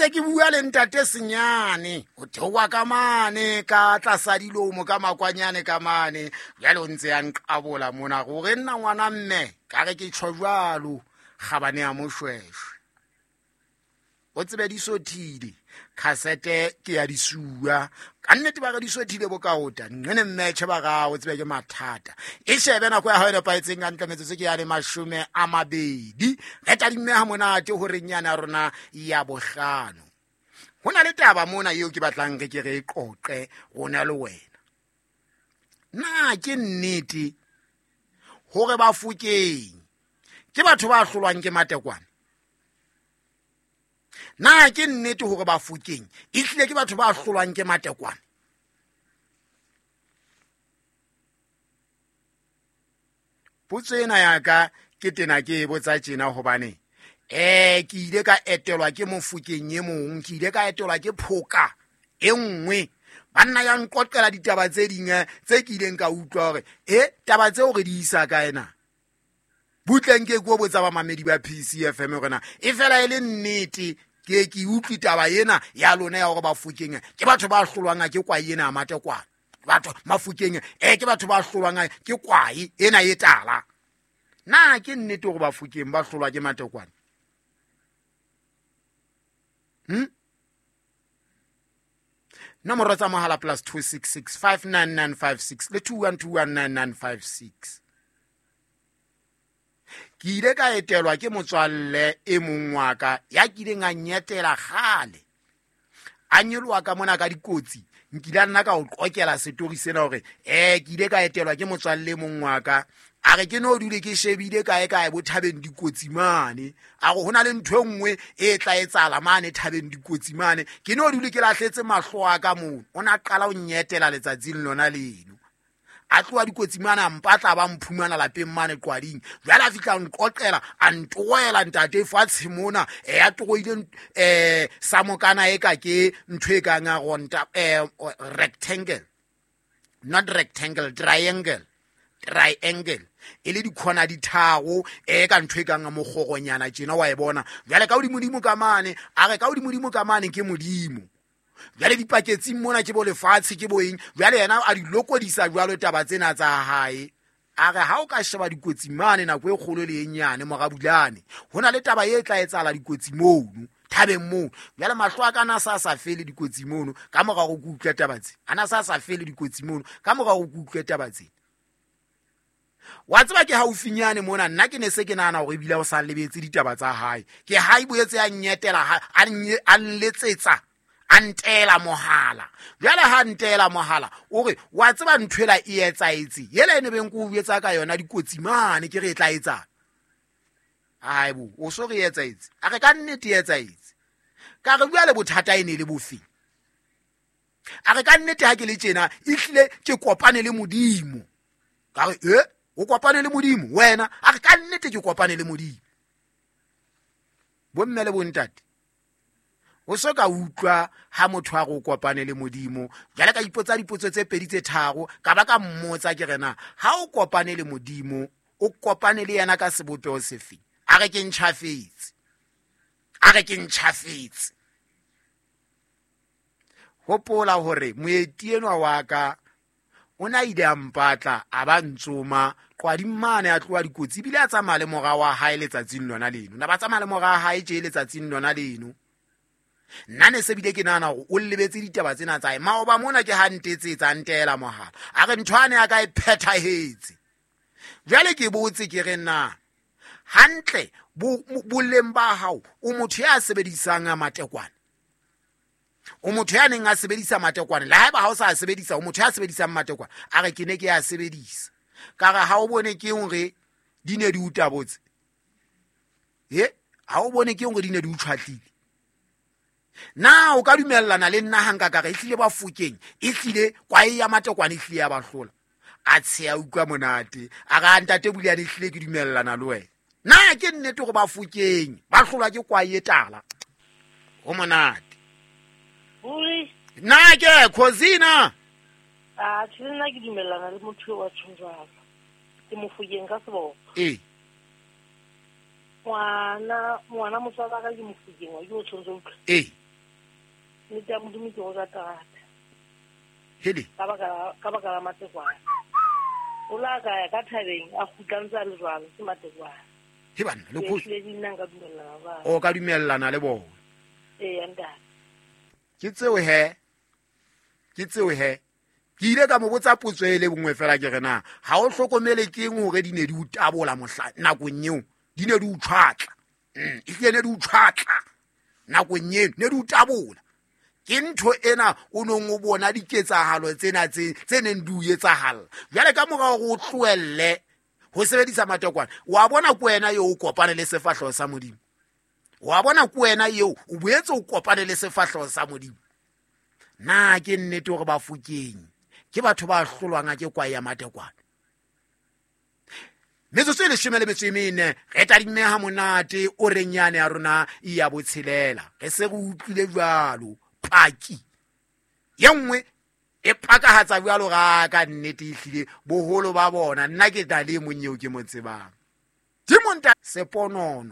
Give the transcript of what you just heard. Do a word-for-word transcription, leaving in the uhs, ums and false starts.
ntse ke bua le ntate Senyane o theoha ka mane ka tlasa dilomo ka makwanyane ka mane jwale o ntse ya nqabola mona gore nna ngwana mme ka re ke tjho jwalo kgabane ya moshweshwe o tsebe di sothile khasete ke ya disuwa ka nnete ba re di sothile bokaota nne mmetjhe ba ga o tsebe ke mathata e shebe nako ya hao e nepahetseng ka ntle metsotso ke ya le mashome a mabedi re tadimme ha monate hore nyana ya rona ya bohlano ho na le taba mona eo ke batlang re ke re e qoqe rona le wena na ke nnete hore Bafokeng ke batho ba hlolwang ke matekwane na ke nnete hore Bafokeng e hlile ke batho ba hlolwang ke matekwane potso ena ya ka ke tena ke e botsa tjena hobane eh ke ile ka etelwa ke Mofokeng e mong ke ile ka etelwa ke phoka e nngwe banna ya nqoqela ditaba tse ding tse ke ileng ka utlwa hore e taba tseo re di isa kae na butleng ke go botsa ba mamedi ba P C F M hore na e fela e le nnete ke ke utlwi taba ena ya lona ya hore Bafokeng ke batho ba hlolwang ke kwae ena ya matekwane batho Mafokeng eh ke batho ba hlolwang ke kwae ena e tala na ke nnete hore Bafokeng ba hlolwa ke matekwane hm nomoro tsa mohala plus two six six five nine nine five six le two one two one nine nine five six ke ile ka etelwa ke motswalle e mong wa ka ya kileng a nyetela kgale a nyoloha ka mona ka dikotsi nkile a nna ka o qokela setori sena hore eh ke ile ka etelwa ke motswalle e mong wa ka a re ke no dule ke shebile kae kae bo thabeng dikotsi mane a re hona le ntho e nngwe e tla etsahala mane thabeng dikotsi mane ke no dule ke lahletse mahlo a ka mono o na qala o nyetela letsatsing lona leno a tloha dikotsi mane a mpatla ba mphumana lapeng mane qwading jwale a fihla nqoqela a ntoela ntate fatshe mona e a toroile eh sa mokana e ka ke ntho e kang a ronta eh rectangle not rectangle triangle triangle e le dikhona di tharo e ka ntho e kang a mokgoronyana tjena wa e bona jwale ka hodimodimo ka mane a re ka hodimodimo ka mane ke modimo jwale dipaketsing mona ke bo lefatshe ke bo eng jwale yena a di lokodisa jwalo taba tsena tsa hae a re ha o ka sheba dikotsi mane nako e kgolo le e nyane morabulane ho na le taba e tla etsahala dikotsi mono thabeng moo jwale mahlo a ka na sa sa fele dikotsi mono ka mora go utlwa taba tse ana sa sa fele dikotsi mono ka mora go utlwa taba tse wa tseba ke haufinyane mona nna ke ne se ke nahana hore ebile o sa lebetse ditaba tsa hae ke ha e boetse ya nyetela a nletsetsa a ntela mohala jwale ha ntela mohala o re wa tseba nthwela e etsaetse yela ene beng ko o etsa ka yona dikotsi mane ke re e tla etsa ai bo o so re etsaetse a re ka nnete e etsaetse ka re jwale bothata e ne le bofe a re ka nnete ha ke le tjena e hlile ke kopane le modimo ka re e o kopane le modimo wena a re ka nnete ke kopane le modimo bomme le bontate o so ka utlwa ha motho a go kopane le modimo jwale ka ipotsa dipotso tse pedi tse tharo ka ba ka mmotsa ke rena ha o kopane le modimo o kopane le yena ka sebopeho sefe a re ke ntjhafetse a re ke ntjhafetse hopola hore moeti enwa wa ka o na ile a mpatla a ba ntsoma qwading mane a tloha dikotsi ebile a tsamaya le mora wa hae letsatsing lona leno na ba tsamaya le mora wa hae tje letsatsing lona leno nna ne se bile ke nahana hore o lebetse ditaba tsena tsa hae maoba mona ke ha ntetsetsa ntela mohala a re ntho ane ya ka e phethahetse jwale ke botse ke re na hantle boleng ba hao o motho ya sebedisang matekwane o motho ya neng a sebedisa matekwane le haeba ha o sa sebedisa o motho ya sebedisang matekwane a re ke ne ke ya sebedisa ka re ha o bone ke hore di ne di utabotse he ha o bone ke hore di ne di utshwatlile na o ka dumellana le nna hanka ka re ehlile Bafokeng ehlile kwae ya matekwane ehlile ya ba hlola a tsheya utlwa monate a re ntate Buleane ehlile ke dumellana le wena na ke nnete hore Bafokeng ba hlolwa ke kwae e tala ho monate na ke khosina a tjhe nna ke dumellana le motho wa tjho jwalo ke Mofokeng ka seboko ee ngwana ngwana motswala ka ke Mofokeng wa ke o tshwanetse utlwa ee Nnete ya Modimo ke go ja terata. Hele. Ka baka la- ka baka la matekwane. O la ka ya ka thabeng a kgutla ntse a le jwalo ke matekwane. He banna le Ke khosi. ehlile di nna nka dumellana jwalo. O ka dumellana le bona. Eya ntate. Ke tseo he. Ke tseo he. Ke ile ka mo botsa potso e le bongwe fela ke re na ha o hlokomele keng hore di ne di o tabola mohla nakong eo di ne di o tshwatla. Mm, ehlile ne di o tshwatla nakong eno ne di o tabola. Ke ntho ena o nong o bona diketsahalo tsena tse tse neng di o etsahalla. Jwale ka mora hore o tlohelle ho sebedisa matekwane, wa bona ke wena eo o kopane le sefahleho sa Modimo. Wa bona ke wena eo o boetse o kopane le sefahleho sa Modimo. Na ke nnete hore Bafokeng ke batho ba hlolwang ke kwae ya matekwane? Metsotso e leshome le metso e mene re tadimme ha monate o reng yane ya rona ya botshelela. Re se re utlwile jwalo paki ye nngwe e pakahatsa jwalo ga ka nnete ehlile boholo ba bona. Nna ke tla le e mong eo ke mo tsebang. Dimonta seponono.